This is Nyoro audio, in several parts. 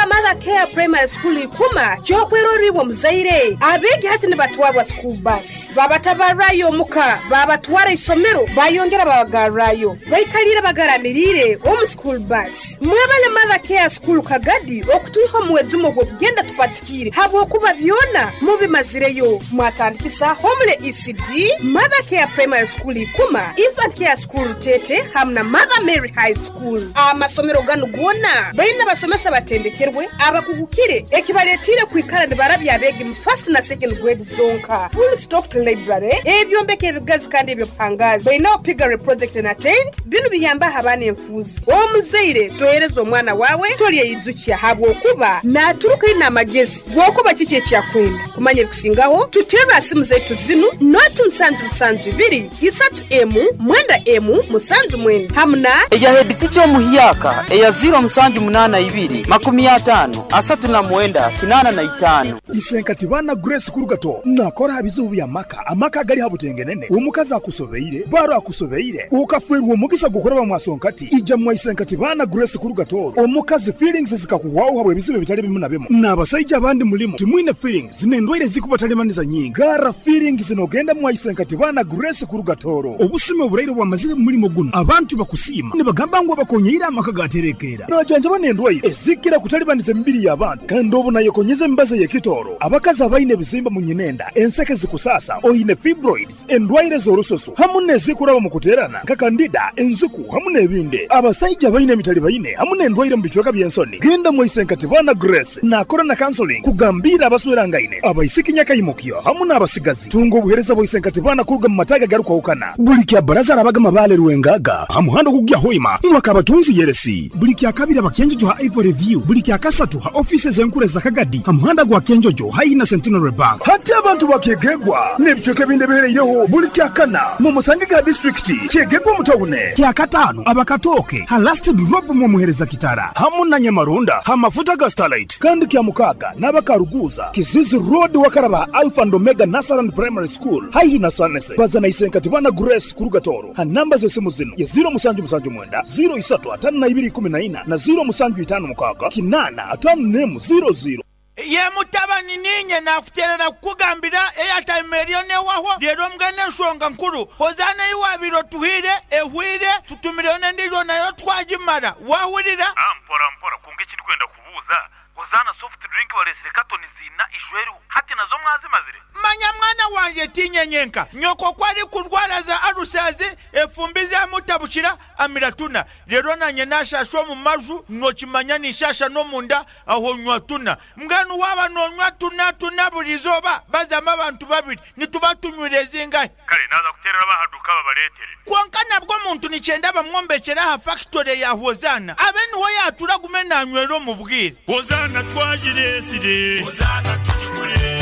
N'aba Mother Care Primary School Ikuma ky'okwerorra iwe omuzaire. Abeegi hati nibatwarwa school bus, babatabarrayo omuka, babatwara isomero, bayongera babagarrayo. Baikaliire bagaramiriire omu school bus. Mwebale Mother Care School Kagadi okutwiha omu mwejumo gw'okugenda tupatikiire habwokuba byona mubimazireyo. Mwatandikisa Homely ECD, Mother Care Primary School Ikuma, Infant Care School Rutete hamu na Mother Mary High School. Amasomero ganu goona baine abasomesa abatendekerwe, abakugukire ekibaletiire kwikara nibarabya abeegi mu first na second grade zonka. Full stocked library, ebyombeko ebigazi kandi eby'obuhangaazi. Bainaho piggery project and attained. Binu biyambaho abaana enfuuzi. Omuzaire tohereza omwana waawe tolyeyijukya habwokuba naaturuka aine amagezi g'okuba kiki eki akwenda. Kumanya ebikusingaho, tuterre ha simu zaitu zinu, noti musanju musanju ibiri, isatu emu, mwenda emu, musanju mwenda hamu na. Eya heditica omuhyaka eya ziro musanju munana ibiri, makumi atano, asatu na mwenda, kinana na itano. Isenkati baana Grace Kurugato nakora ha bizibu by'amaka, amaka agali ha butengenene, omukazi akusobeire, baro akusobeire, okafeerwa omugisa gw'okuraba mwasonkati, ija mwa Isenkati baana Grace Kurugato, omukazi feelings zikakuhwaho habw'ebizibu ebitali bimu na bimu, n'abasaija abandi mulimu timwine feelings n'endwaire ezikubatalibaniza nyingi, garra feelings n'ogenda mwa Isenkati baana Grace Kurugatoro. Obusumi oburaire obwamazire mu mulimo gunu, abantu bakusiima nibagamba ngu abakonyeire amaka gaterekeera. Najanjaba n'endwaire ezikira kutalibaniza emibiri y'abantu kandi obu nayekonyeza emibazi ey'ekitooro. Abakazi abaine ebizimba mu nyinenda, enseke zikusaasa, oine fibroids, endwaire z'orususu hamu n'ezikuraba omu kuteerana nka kandida, enziku hamu n'ebindi. Abasaija abaine emitalibaine hamu n'endwaire omu bicweka by'ensoni, genda mwaise Nkatibana Grace naakora na counseling kugambiira abaswerangaine, abaisiki nyakaimukyo hamu n'abasigazi. Tunga obuheereza bwa Isenkatibana kuruga mu mataagi agarukwahukana. Buli kya Baraza arabaga Mabaale Rwengaga ha muhanda ogukugya Hoima Mwakabatunzi Yeresi. Buli kya Kabiri aba Kyenjojo ha Ivory View. Buli kya Kasatu ha ofiisi ez'enkuru eza Kagadi ha muhanda gwa Kyenjojo haihi na Centenary Bank. Hati abantu ba Kyegegwa n'ebicweka ebindi ebihereireho buli kya Kana mumusange ha disiturikiti Kyegegwa omu tawune. Kya Kataano aba Katooke ha Last Drop mwamuhereza Kitara hamu na Nyamaronda ha mafuta ga Starlight. Kandi kya Mukaaga n'aba Karuguuza, Kizizi Road wakaraba ha Alpha and Omega Nursery and Primary School haihi na Sanese. Baza na Isenkatibana Grace kuruga Tooro ha namba z'esimu zinu ye ziro musanju musanju mwenda, ziro isatu atano na ibiri ikumi na ina na ziro musanju itano mukaaga kinaana atano n'emu ziro ziro. Ye mutabani, niinye naakuteerera kukugambira eyataima eriyo n'ehwaho. Reero mbwenu enshonga nkuru, Hozaana ei waabaire otuhaire ehwaire, tutumireyo n'endiijo nayo twagimara. Waahurira? Mpora mpora, kwonka eki ndikwenda kubuuza, Hozaana soft drink bareetsire katoni ziina ijweriho, hati nazo mwazimazire? Manya mwana wangye, tiinye nyenka. Nyoko ku arikurwara za alusazi, efumbi zaamutabukira, amira tuna. Reero naanye naashaasha omu maju, nookimanya ninshaasha n'omunda, aho nywa tuna. Mbwenu waaba noonywa tuna tuna buri izooba, bazamu abantu babiri, nituba tunywire zingahi? Kare naaza kuteerera ab'aha duuka babareetere. Kwonka nabwo omuntu nikyenda bamwombekyere aha fakitore ya Hozaana, abe niho yaatura agume naanywera omu bwire. Hozaana twagireetsire. Hozaana tugigure.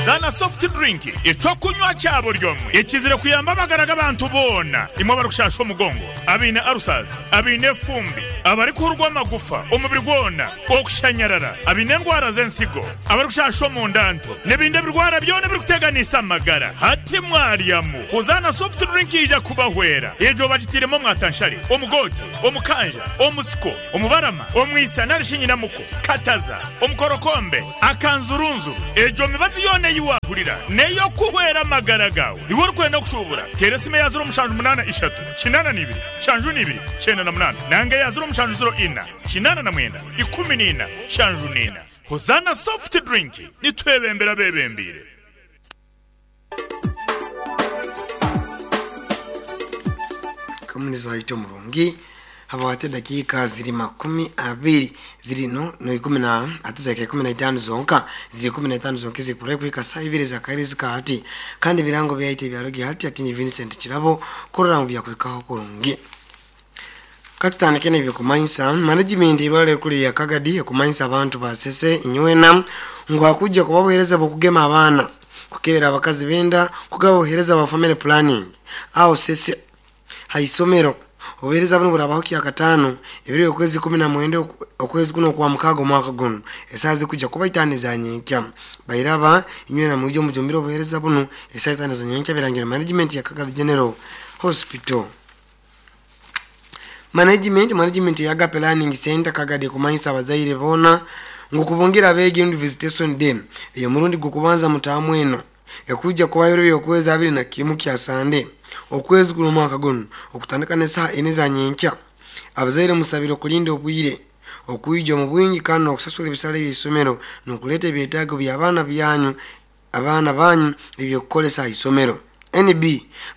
Hozaana soft drink, eky'okunywa kya buri omwe ekizire kuyamba amagara g'abantu boona. Imwe abarikushaasha omugongo, abaine ulcers, abaine efumbi, abarikuhurwa amagufa omubiri gwona, okushanyarara, abaine endwara z'ensigo, abarikushasha omunda nto, n'ebindi ebirwara byona ebirikuteganisa amagara. Hati mwaryamu Hozaana soft drink eija kubahwera. Egyo bagitairemu omwatanshare, omugoote, omukanja, omusiko, omubarama, omwisa nari shi nyinamuko, kataza, omukorokombe, akanzurunzuru. Egyo mibazi yoona ei waahurira n'ey'okuhwera amagara gaawe. Iwe orikwenda kushuubura, teera esimu eya ziro mushanju munaana ishatu, kinaana na ibiri, nshanju na ibiri, kyenda na munaana nanga eya ziro mushanju ziro ina, kinaana na mwenda, ikumi na ina, nshanju na ina. Hozaana Soft Drink, nitwebembera abeebembeire. Kamunizi waitu omurungi habwati edakiika ziri 20 ziri no no ikumi na ati zaika 15 zonka ziri 15 zonka ezikurayo kuhika saa ibiri z'akairezi ka hati kandi ebirango byaitu ebyarugi hati ati ni Vincent Kirabo kurora ngu byakuhikaho kurungi. Katutandike n'ebyokumanyisa management eirwariro erikuru erya Kagadi ekumanyisa abantu ba Sese inywena ngu hakujja kuba obuhereza bw'okugema abaana, kukebera abakazi b'enda, kugaba obuhereza bwa family planning aho Sese ha isomero. Obuhereza bunu burabaho Kyakataano ebiro by'okwezi 19 okwezi kunu Okwamukaaga omwaka gunu esaaha zikujja kuba itaano eza nyenkya. Bairaba inywena mwije mujumbire obuhereza bunu esaaha itaano eza nyenkya birangirwe management ya Kagadi General Hospital. Management ya Agape Learning Center Kagadi ekumanyisa abazaire boona ngu kubungira abeegi rundi visitation day ey'omurundi gw'okubanza mutaamu eno ekwijja kuba biro by'okwezi 21 kya Sande okwezi kuno omwaka gunu okutandika n'esaaha ina za nyenkya. Abazaire musabire okulinda obwire, okwija omu bwingi kandi n'okusasura ebisale by'isomero n'okuleeta ebyetaago by'abaana byanyu abaana banyu eby'okukolesa ha isomero. NB,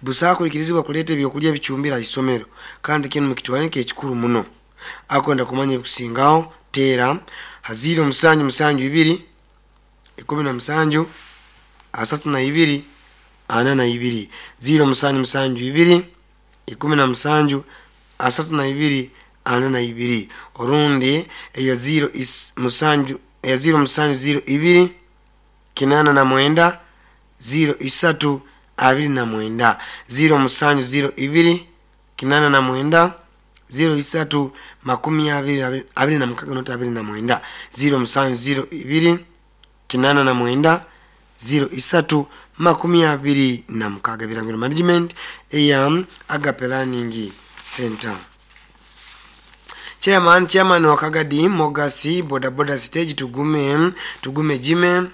Busaho kwikirizibwa kuleeta ebyokulya ebicumbire ha isomero kandi kinu mukitwale nk'ekikuru muno. Akwenda kumanya ebikusingaho teera ha 0772 17 32 42 0772 17 32 42 orundi eya 0 7 eya 0702 89 03 29 0702 89 03 26 29 0702 89 03 26 Birangiro Management eya Agape Learning Center. Chairman wa Kagadi Mogasi Boda Boda Stage Tugume Jime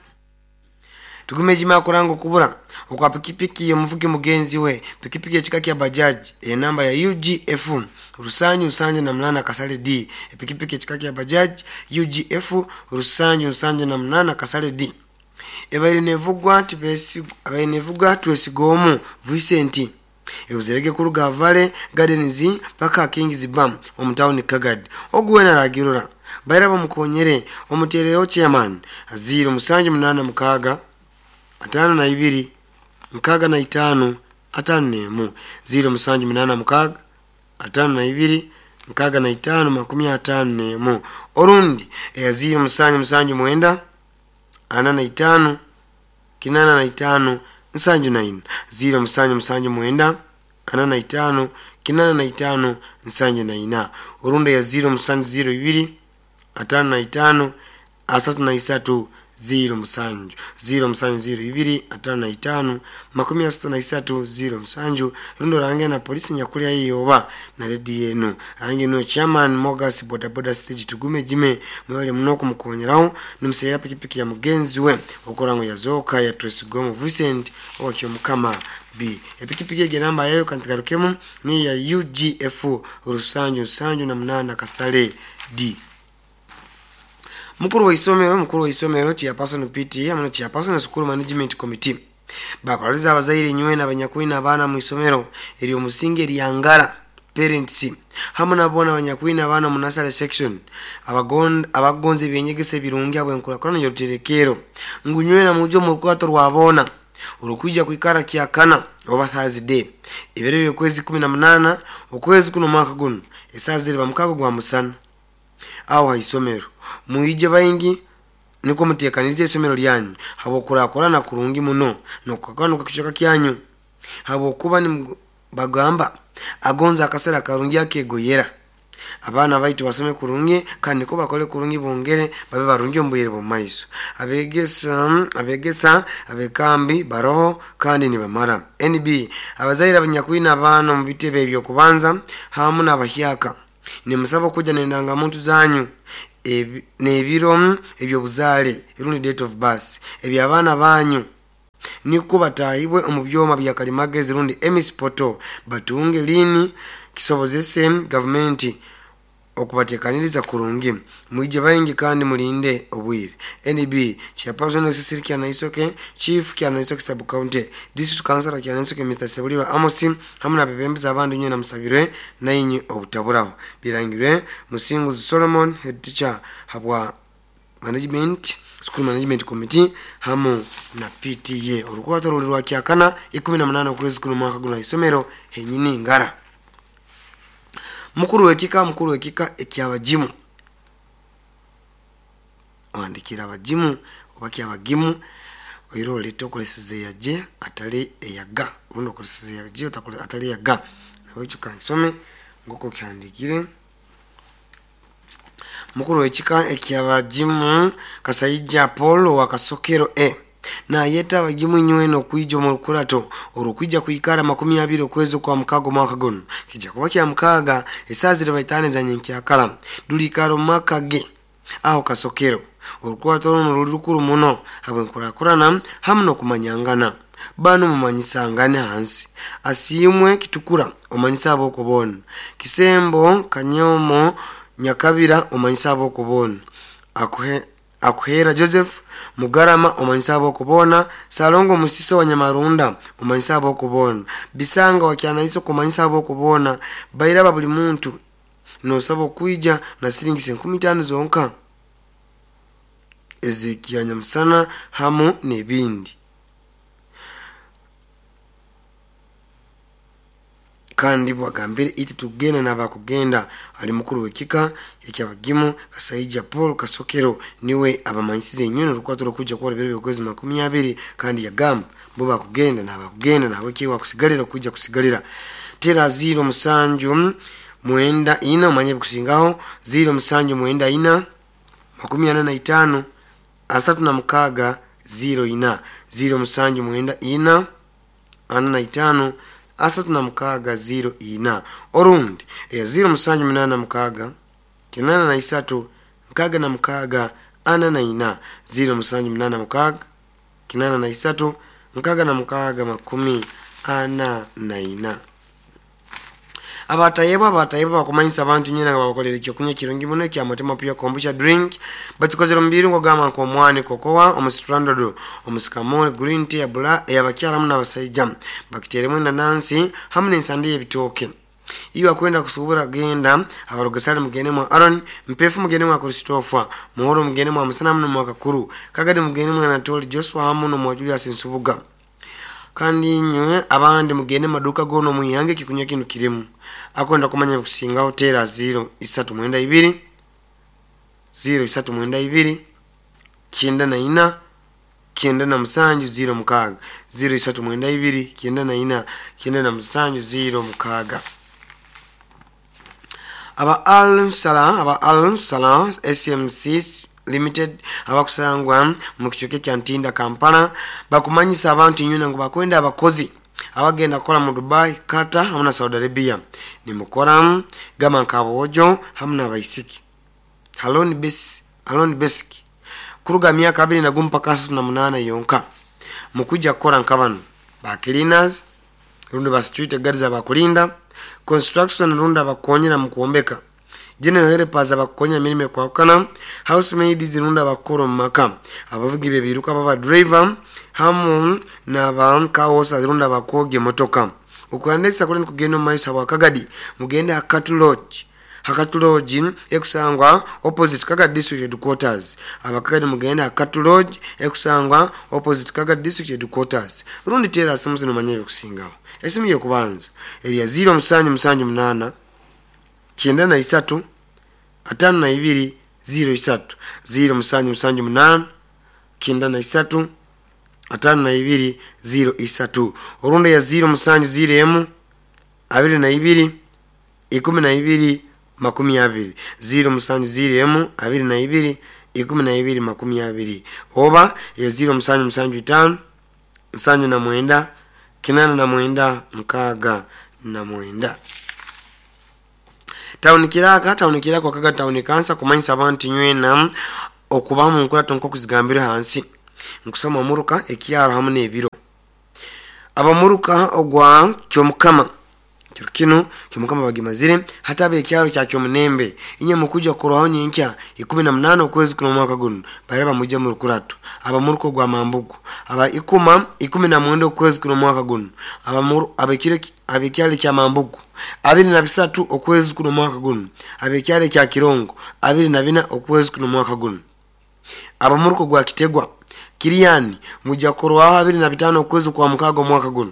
akuranga okubura okwa pikipiki omuvugi mugenzi we pikipiki ekika kya Bajaj enamba ya UGF Rusanyu 78 Kasale D. Epikipiki ekika kya Bajaj UGF Rusanyu 78 Kasale D ebaire nevugwa Twesigomu Vicent ebuzerege kuruga Vale Gardens paka Kings Bam omutawuni Kagadi. Oguwena ragirora baira bamukonyere omuterero chairman 0786 52 65 51 0786 52 65 51 orundi eya 0779 45 85 79 0779 45 85 79 orundi ya 0702 55 33 07 0702 55 33 07 rundo range na polisi nyakulya iyoba na redi yenu range no chairman Mogas Boda Boda Stage Tugume Jime mwale muno kumukonyeraho nimusera pikipiki ya mugenzi we okorango yazoka ya Twesigomu Vincent owakyo mukama B. Epikipiki ege namba yayo kantigarukemu ni ya UGF Rusanju 78 Kasale D. Mukuru wa isomero chairperson PT amano chairperson school management committee bakoleza abazaire nywe n'abanyakwina abaana mu isomero eri omusinge eryangara parents hamwe nabona abanyakwina abaana mu nursery section abagonze ebyenyegesa ebirungi abo enkurakurana y'oruterekero ngunywe na mujo mu rukwato rwabona urukuja kuikara kyakana oba Thursday ebiro by'okwezi 18 okwezi kuno mwaka guno esazire bamukago gwa musana aho ha isomero muije baingi niko mutekanirize isomero lyanyu habo kurakorana kurungi muno nokukakano kukichoka kyanyu habo kuba ni bagamba agonza akasera karungi akegoyera abaana baitu basome kurungi kandi niko bakole kurungi bongere babe barungi ombuyire b'omumaiso. Abegesa abekambi baroho kandi nibamara. NB abazaire abanyakwina abaana omu bitebe ebyokubanza hamu n'abahyaka nimusaba okuja n'endangamuntu zanyu n'ebiro eby'obuzaale rundi date of birth eby'abaana banyu niko batahibwe omu byoma bya kalimagezi rundi EMIS portal batunge lini kisobozese gavumenti okubatekaniriza kurungi. Mwije baingi kandi mulinde obwire. NB chairperson Cecil Kyanaisoke, Chief Kyanaisoke Sub County, District Councilor Kyanaisoke Mr. Sebuliba Amos hamwe n'abebembezi abandi nywe namusabirwe nainyu obutaburaho. Birangirwe Musinguzi Solomon, head teacher habwa management school management committee hamu na PTA. Orukwato ruli rwa kyakana 18 okwezi kuno mwaka guno isomero henyini ngara. Mukuru wekika ekyabajimu wandikira abajimu oba kyabagimu oiro leto okoleseze yaje atali eyaga urundo okoleseze yaje atali yaga nabyo kansome ngoko kyandikire. Mukuru wekika ekyabajimu Kasaija Paul wa Kasokero E Nayeta abagimu inywena okwija omu rukurato orukwija kwikara 20 okwezi kwa mukaga omwaka guno kijja kuba kya mukaaga esaaha ziri baitaano eza nyenkyakara duliikara omu maka ge aho Kasokero. Orukurato runo ruli rukuru muno habw'enkurakurana hamu n'okumanyangana. Banu mumanyisangane hansi. Asiimwe Kitukura omanyisa ab'okuboona. Kisembo Kanyomo Nyakabira omanyisa ab'okuboona. Akuhera Joseph Mugarama omanyisa ab'okuboona. Salongo Musiso wa Nyamarunda omanyisa ab'okuboona. Bisanga wa Kyanaiso kumanyisa ab'okuboona. Bairaba buli muntu nosaba okwija na siringi 5000 zonka ezekya nyamusana hamu n'ebindi. Kandi bwagambire iti tugenda n'abakugenda ali mukuru w'ekika ekyabagimu Kasaija Paul Kasokero niwe abamanyisize enywena orukwato rukujja kuba biro by'okwezi 20, kandi yagamba bo bakugenda n'abakugenda nawe kiwa kusigalira kujja kusigalira. Tera 0 7 9 4 omanye bikusingaho 0 7 9 4 45 36 0 4 0 7 9 4 45 36 0 4 orundi eya 0 7 8 6 83 66 44 0 7 8 6 83 66 44. Abatayebwa bakumanyisa abantu nyina nga babakolera ekyokunywa kirungi muno ekya Mutima Pure Kombucha drink. Bakikozere mu birungo gamba nk'omwani, kokowa, omusitrandodo, omusikamole, green tea bula eyabakyala hamu n'abasaija. Bakiteremu enanansi hamu n'ensande y'ebitooke. Iwe akwenda kusuubura genda abarugasale mugende mwa Aaron, Mpefu mugende mwa Christopher, Muhoro mugende mwa Musana hamu n'omwa Kakuru, Kagadi mugende mwa Anatoli Joshua hamu n'omwa Julius Nsubuga. Kandi inywe abandi mugende maduka gono muyange kikunywa kinu kirimu. Akwenda kumanya kusingaho tera 0 3 92 0 3 92 94 97 06 0 3 92 94 97 06. Aba Al Salah SMC Limited abakusangwa mu kichweka kya Ntinda Kampala bakumanyisa abantu nyuna ngo bakwenda abakozi abagenda kukola mu Dubai, Qatar hamu na Saudi Arabia. Nimukora gama nkabojo hamu n'abaisiki. Halon Basic kuruga myaka 21 mpaka 38 yonka. Mukuja kukora nkabano ba cleaners rundi ba security guards abakulinda construction rundi abakonyera mu kuombeka, general helpers abakonya mirimo kwakana, housemaids rundi abakora mu maka, abavugi bebiruka baba driver hamu n'aba kawosa rundi abakoge motoka. Okuandesa kuli kugenda mu maiso wa Kagadi mugende Hakatu Lodge. Hakatu Lodge ekusangwa opposite Kagadi District Headquarters. Abakagadi mugende Hakatu Lodge ekusangwa opposite Kagadi District Headquarters. Rundi tera simu zino manyebe kusingaho. Esimu yokubanza eriya 0 7 7 8 93 52 03 0 7 7 8 93 52 03. Orundi ya 0 7 0 22 12 20 0 7 0 22 12 20 oba ya 0 7 7 5 7 9 9 6 9. Tawuni Kiraka wakaga tawuni kansa kumanyisa abantu nywena okuba mu nkurato nk'okuzigambira hansi nkusoma muruka ekyaro hamu n'ebiro. Abamuruka ogwa Kyomukama kiro kino Kyomukama bagimazire hatabe ekyaro kya Kyomunembe inye mukuja kuroho nyenkya 18 okwezi kuno mwaka guno baraba mujja mu rukurato. Abamuruka ogwa Mambugu aba ikuma 19 okwezi kuno mwaka guno abekyalo kya Mambugu 23 okwezi kuno mwaka guno abekyalo kya Kirongo 24 okwezi kuno mwaka guno. Abamuruka gwa Kitegwa Kiriani mujja kuroho 25 okwezi kwa mukago mwaka guno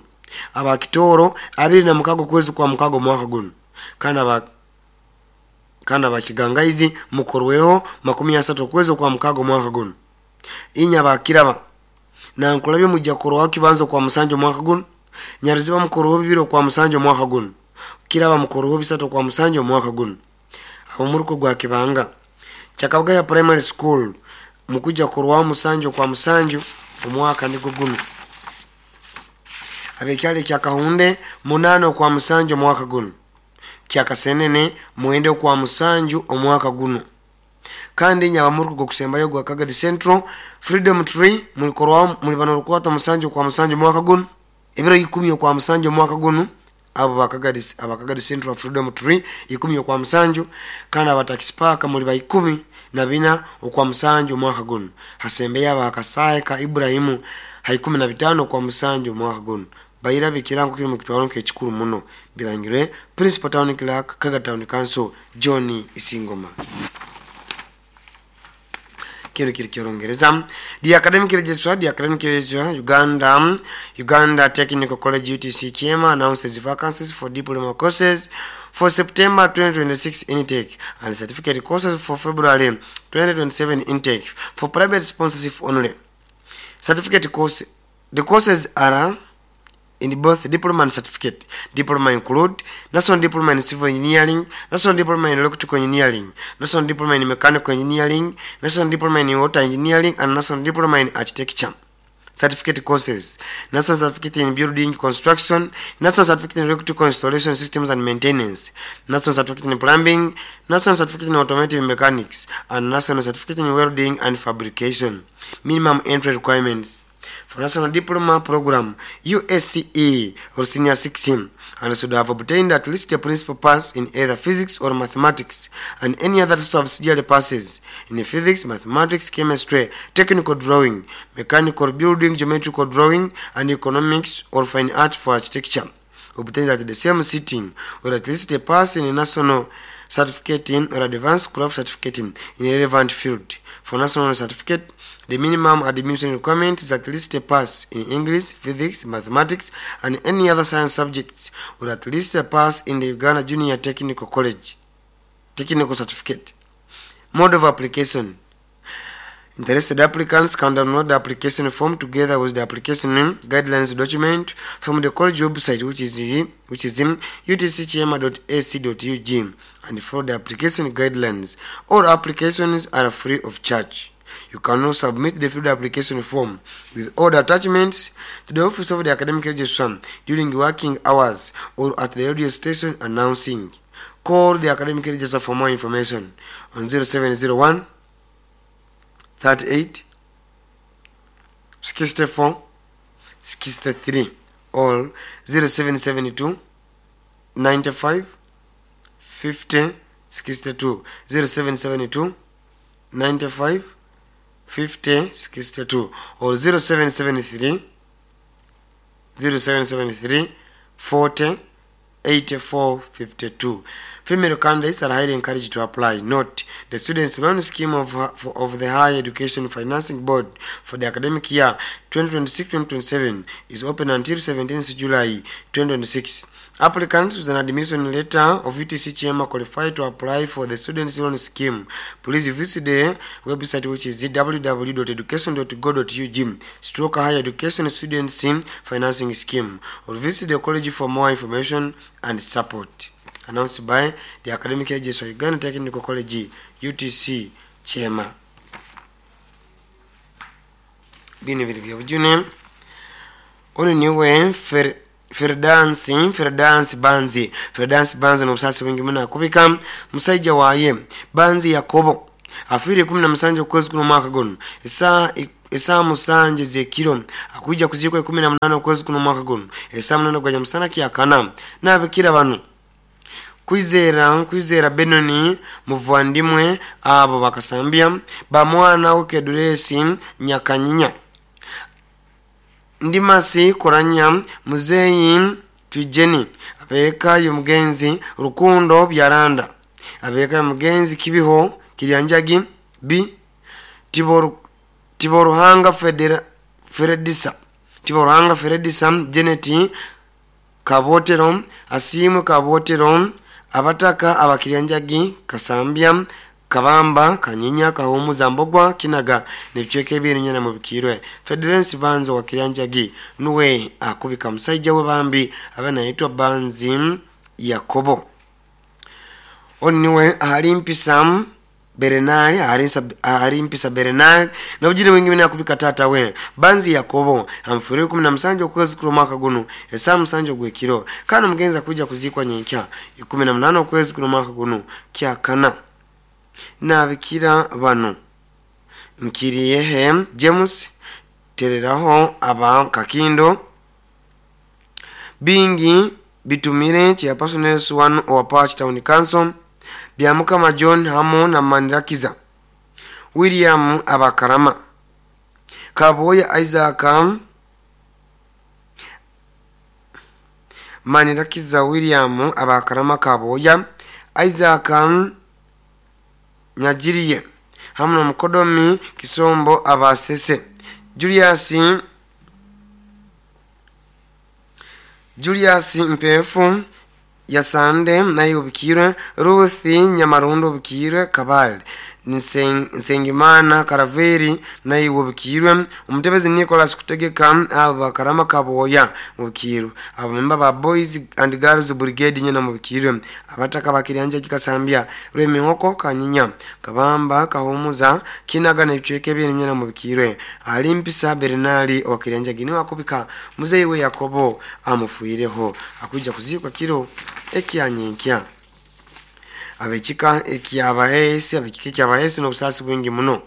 abakitoro 26 okwezi kwa mukago mwaka guno. Kandi abakigangaizi mukorweho 30 okwezi kwa mukago mwaka guno. Inya bakiraba nankulabye mujja kuroho kibanzo kwa musanjo mwaka guno. Nyaruziba mukorweho bibiri kwa musanjo mwaka guno. Kiraba mukorweho bisatu kwa musanjo mwaka guno. Abamuruko gwa Kibanga Kyakabugaya Primary School mukuja kuroho musanjo kwa musanjo. Omwaka nigwo guno. Abekyalo ekya Kahunde, 8 okwa 7 omwaka guno. Kyakasenene, 9 okwa 7 omwaka guno. Kandi nyabamuruko gokusembayo gwa Kagadi Central, Freedom Tree, mulikorwaho mulibana orukwata 7 okwa 7 omwaka guno, ebiro 10 okwa 7 omwaka guno. Abo bakagadi, abakagadi Central, Freedom Tree, 10 okwa 7. Kandi abataxi park muli ba 14 okwa 7 omwaka guno. Hasembeyo abakasaye ka Ibrahimu ha 15 okwa 7 omwaka guno. Bairabe ekirango kiri mu kitwalo nk'ekikuru muno. Birangirwe Principal Town Clerk, Kaga Town Council, John Isingoma. Kino kiri kyolongereza. The academic registrar, the academic registrar, Uganda Technical College, UTC Kyema, announces vacancies for diploma courses for September 2026 intake and certificate courses for February 2027 intake for private sponsorship only. Certificate course, the courses are in both diploma and certificate. Diploma include National Diploma in Civil Engineering, National Diploma in Electrical Engineering, National Diploma in Mechanical Engineering, National Diploma in Water Engineering, and National Diploma in Architecture. Certificate courses: National Certificate in Building Construction, National Certificate in Electrical Installation Systems and Maintenance, National Certificate in Plumbing, National Certificate in Automotive Mechanics, and National Certificate in Welding and Fabrication. Minimum entry requirements for National Diploma Program, USCE or Senior 6, and should have obtained at least a principal pass in either physics or mathematics and any other subsidiary passes in physics, mathematics, chemistry, technical drawing, mechanical building, geometrical drawing, and economics or fine art for architecture, obtained at the same sitting, or at least a pass in a national certificate or advanced craft certificate in a relevant field. For national certificate, the minimum admission requirement is at least a pass in English, physics, mathematics, and any other science subjects, or at least a pass in the Uganda Junior Technical College technical certificate. Mode of application. Interested applicants can download the application form together with the application guidelines document from the college website, which is utckyema.ac.ug, and follow the application guidelines. All applications are free of charge. You can also submit the filled application form with all the attachments to the office of the academic registrar during working hours or at the radio station announcing. Call the academic registrar for more information on 0701 38 64 63 or 0772 95 50 62, 0772 95 50 62 or 0773 0773 40 84 52. Female candidates are highly encouraged to apply. Note, the Students' Loan Scheme of the Higher Education Financing Board for the academic year 2026-2027 is open until 17th July 2026. Applicants with an admission letter of UTC Kyema qualify to apply for the Students' Loan Scheme. Please visit the website, which is www.education.go.ug/higher education students financing scheme, or visit the college for more information and support. Announced by the Academic Agency of Uganda Technical College, UTC Kyema. Bino biri byobujune. Ono niwe Ferdansi Banzi. Ferdansi Banzi n'obusasi bwingi muno akubika musajja waaye Banzi Yakobo, afiire 17 okwezi kuno omwaka guno, esaa 7 zekiro. Akwijja kuziikwa 18 okwezi kuno omwaka guno, esaa 8 gwaja musana kyakana. N'abikira bano: Kwizera Benoni muvandimwe, abo bakasambya bamwana we Keduresi Nyakanyinya, Ndimasi Koranya, Muzeyi Twijeni, abeeka y'omugenzi Rukundo Byaranda, abeeka y'omugenzi Kibiho Kiryanjagi B Tiboruhanga Feredisa, Tiboruhanga Feredisa, Janet Kabotero, Asiimwe Kabotero, abataka abakiryanjagi, Kasambya, Kabamba, Kanyinya, Kahumuza, Mbogwa, Kinaga nebicweka ebirinyana mu bikirwe. Federensi Banzo wa Kiryanjagi nuwe akubika musajja we bambi abe nayitwa Banzi Yakobo. Ono niwe ahali mpisa. Bernard ahari Mpisa Bernard nobujini bwingi bina kubika tata we Banzi Yakobo amfuriwe 17 okwezi kuno mwaka guno esaa 7 gwekiro kana mugenza kuja kuzikwa nyenkya 18 okwezi kuno mwaka guno kyakana nabikira bano Nkiriyehe James tereraho aba Kakindo bingi bitumire chairperson one wa Patch Town Council Byamukama John hamo na Manirakiza William Abakarama Kaboya Isaac Manirakiza William Abakarama Kaboya Isaac Nyajiriye hamu na Mukodomi Kisombo Abasese Julius Mpefu Yasande naye ubikirwe Ruth Nyamarundo ubikirwe Kabale Nsengimana Karaveri naye ubikirwe Umutebezi Nicholas Kutegeka Abakarama Kaboya ubikirwe abamemba ba Boys and Girls Brigade nyina mubikirwe abataka bakiranja kikasambya Rwemihoko Kanyinya Kabamba Kahumuza Kinaga n'ebicweke bye nyina mubikirwe Alimpisa Bernard wakiranja gini wakubika muzeyi we Yakobo amufuireho akuja kuzikwa kiro ekyanyenkya abekika ekyabaesi abekika ekyabaesi n'obusasi bwingi muno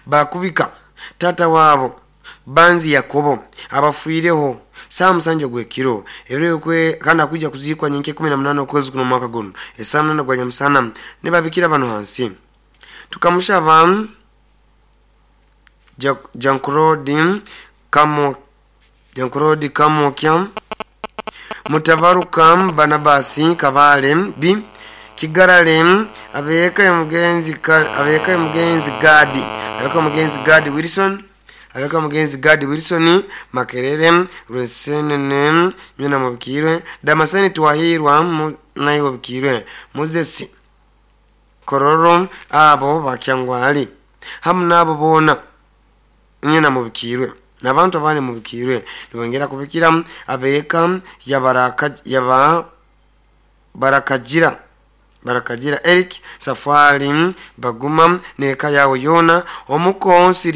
bakubika tata wabo Banzi Yakobo abafuireho saa 7 gwekiro ebiro kandi akuja kuzikwa nyenke 18 okwezi kuno mwaka guno esaa 8 gwa nyamusana ne babikira bano hansi tukamushaba Jankurodi Kamokya Mutabaruka Banabasi Kabale B Kigarale abeka mugenzi Gadi Wilson abeka mugenzi Gadi Wilson Makerere Rwesenene nyina mubikirwe Damaseni Twahirwa naye obikirwe Moses Kororo abo bakyangwali hamu nabo bona nyina mubikirwe nabantu abane mubikirwe nibongera kubikira abeka yaba barakajira Eric Safari Baguma neka yawo yona omukosi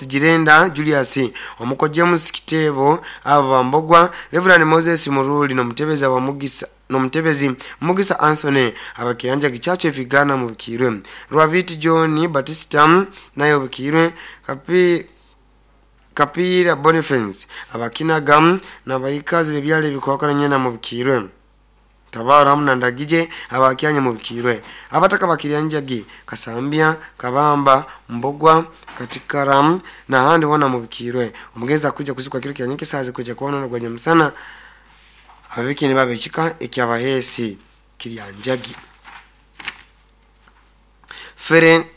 Jirenda Julius omuko James Kitebo abo bambogwa Reverend Moses Muruli nomutebeza wa Mugisa nomutebezi Mugisa Anthony abakiranja gichache vigana mubikirwe Rwabiti John Batista nayo bikirwe Kapira Boniface abakinagam nabayikazi bebyale bikwakana nyena mubikirwe Tabara hamna ndagije abakyanya mubikirwe abataka bakiryanjagi Kasambya Kabamba Mbogwa Katikaram na handi wana mubikirwe omugeza kuja kuzikwa kiro kyanyike saze kuja kuona gwa nyamusana abiki ne babekika ekyabahesi kiryanjagi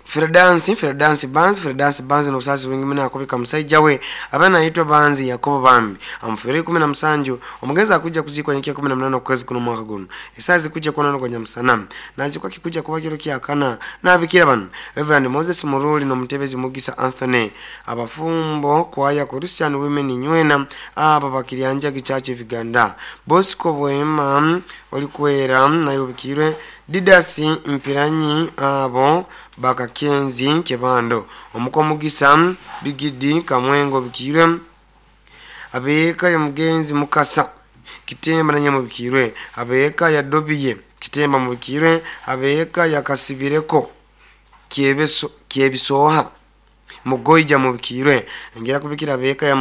Fredansi Banzi n'obusasi bwingi muna akubika musajja we abana yitwa Banzi Yakobo Bambi amufere 17 omugeza akuja kuzikwa nyekia 18 okwezi kuno mwaka guno esazi kuja kuona kwa nyamusana nazikwa kikuja kuba kiro kyakana nabikira bano Reverend Moses Muruli nomutebezi Mugisa Anthony abafumbo kwaya Christian Women nywena aba bakiriyanja gichache Uganda Bosco Bwema olikwera nayo bikirwe Didasi Mpiranyi abo Bakakenzi Kebando omukomugisa Bigidi Kamwengo bikirwe abeka ya mugenzi Mukasa Kitemba na nyamubikirwe abeka ya Dobiye Kitemba mubikirwe abeka ya Kasibireko Kyebisoha Mugoija mubikirwe ngera kubikira abeka ya